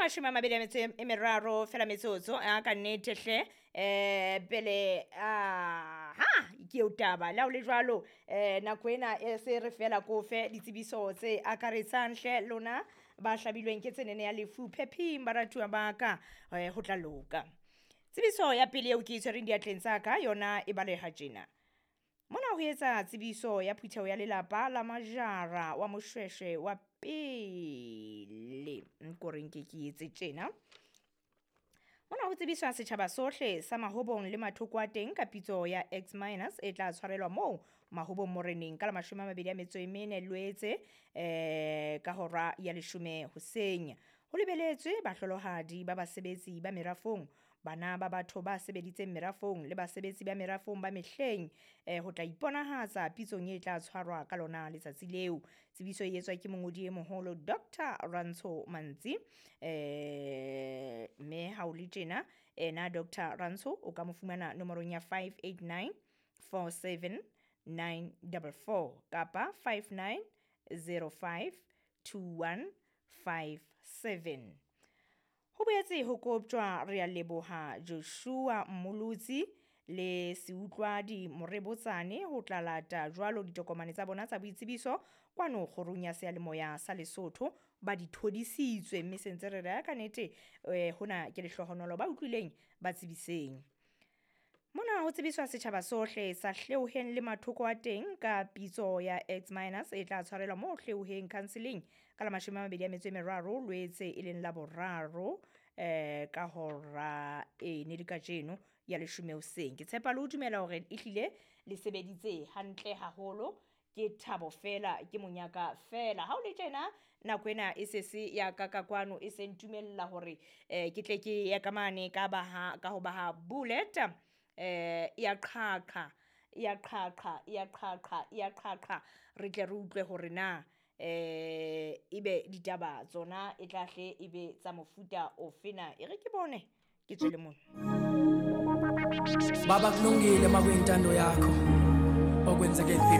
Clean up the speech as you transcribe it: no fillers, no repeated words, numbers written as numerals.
Ke 23 fela metsotso a ka nnete hle, pele a ha ke eo taba le ha o le jwalo, nako ena e se re fela ko fe ditsebiso tse akaretsang hle lona ba hlabilweng ke tsenene ya lefu phephing baratuwa ba ka, ho tla loka. Tsebiso ya pele eo ke e tshwereng diatleng tsa ka yona e baleha tjena. Mona ho etsa tsebiso ya phutheho ya lelapa la Majara wa Moshweshwe wa pele, nko re nke ke etse tjena. Mona ho tsebiswa setjhaba sohle sa Mahobong le mathoko a teng ka pitso ya X minus e tla tshwarelwa moo Mahobong Moreneng ka la 24 Loetse, ka hora ya 10 hoseng. Ho lebeletswe bahlolohadi ba basebetsi ba merafong, bana ba batho ba sebeditseng merafong le basebetsi ba merafong ba mehleng, ho tla iponahatsa pitsong e tla tshwarwa ka lona letsatsi leo. Tsebiso e etswa ke mongodi e moholo Dr Rantsho Mantsi, mme ha o le tjena ena Dr Rantsho o ka mo fumana nomorong ya 589 47 944 kapa 5905 2157. Ho boetse ho koptjwa re a leboha Joshua Mmolotsi le Seutlwadi Morebotsane ho tla lata jwalo ditokomane tsa bona tsa boitsebiso kwano kgorong ya seyalemoya sa Lesotho. Ba di thodisitswe mme se ntse re re ka nnete, hona ke lehlohonolo ba utlwileng ba tsebiseng. Mona ho tsebiswa setjhaba sohle sa Hleoheng le mathoko a teng ka pitso ya X minus e tla tshwarelwa moo Hleoheng counseling ka la 23 Loetse e leng la boraro, ka hora e ne le kajeno ya 10 hoseng. Ke tshepa le ho dumela hore ehlile le sebeditse hantle haholo, ke thabo fela ke monyaka fela. Ha o le tjena nako ena e se se ya ka ka kwano e se ntumella hore, ke tle ke ye ka mane ka baha ka ho baha bullet, ya qhaqha ya qhaqha ya qhaqha ya qhaqha, re tle re utlwe hore na, ebe ditaba tsona e tla hle ebe tsa mofuta ofe na. E re ke bone ke tswele mona. Baba kulungile makuyintando yakho okwenzeke empilweni.